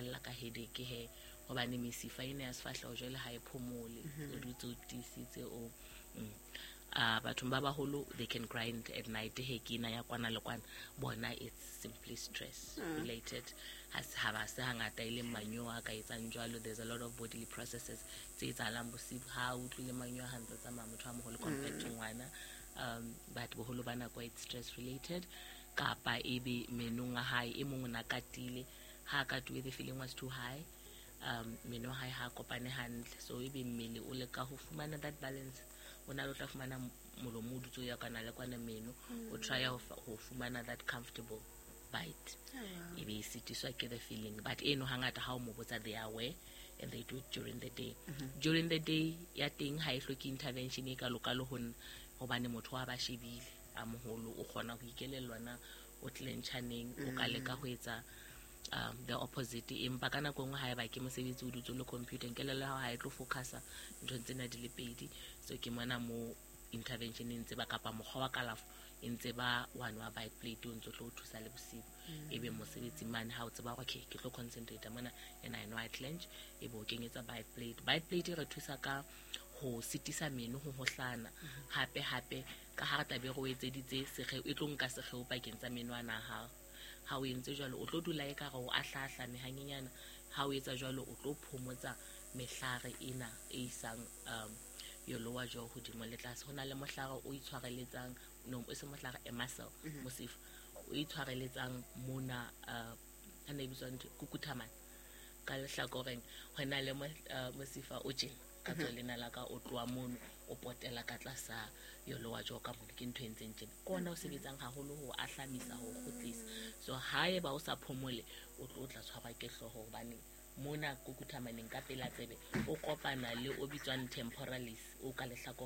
lla ka headache he, hobane mesifa ena ya sefahleho jwale ha e phomole, o dutse o tiisitse o bathong ba baholo they can grind at night he, ke ena ya kwana le kwana. Bona it's simply stress related. Ha ba se hangata e leng manyowa a ka etsang jwalo. There's a lot of bodily processes tse etsahalang bosibu. Ha o utlwile manyowa ha ntse tsamaya motho a moholo compared to ngwana, but boholo ba nako it's stress related. Kapa ebe menong a hae, e mong o na katile, ha a katuwe the feeling was too high, meno a hae ha a kopane hantle, so ebe mmele o leka ho fumana that balance. O na le o tla fumana molomo o dutse o ya kwana le kwana, meno o try ho fumana that comfortable bite, e be e sitiswa ke the feeling. But eno hangata ha o mo botsa, they are aware and they do it during the day. During the day ya teng ha e hloke intervention e kalokalo ho nna, hobane motho wa ba shebile a moholo o kgona ho ikelellwa na o clencha neng, o ka leka ho etsa the opposite. Empa ka nako e nngwe haeba ke mosebetsi o dutse o le computer, kelello ya hao ha e tlo focusa nthong tsena di le pedi. So ke mona mo intervention e ntse ba kapa mokgwa wa kalafo e ntse ba one wa bite plate o ntse o tlo o thusa le bosibu. Ebe mosebetsi mane ha o tseba hore okay, ke tlo concentrate mona and I know I clench, ebe o kenyetsa bite plate. Bite plate e re thusa ka ho sitisa meno ho hohlana. Hape hape ka ha re tlabe re o etseditse sekgeo, e tlo nka sekgeo pakeng tsa meno ana a hao. Ha o entse jwalo, o tlo dula e ka re o ahlaahlame hanyenyana. Ha o etsa jwalo, o tlo phomotsa mehlare ena e isang your lower jaw hodimo le tlase. Ho na le mohlare o itshwareletsang, no, e se mohlare, a muscle, mosifa o itshwareletsang mona, ha ne e bitswa ntho kukuthamane ka lehlakoreng. Ho na le mosifa o tjena ka tswa lena la ka, o tloha mono o potela ka tlasa your lower jaw ka mono. Ke ntho e ntseng tjena, ke ona o sebetsang haholo ho ahlamisa, ho kgutlisa. So haeba o sa phomole, o tlo tla tshwarwa ke hlooho, hobane mona kukuthamaneng ka pela tsebe o kopana le o bitswang temporalis o ka lehlakoreng.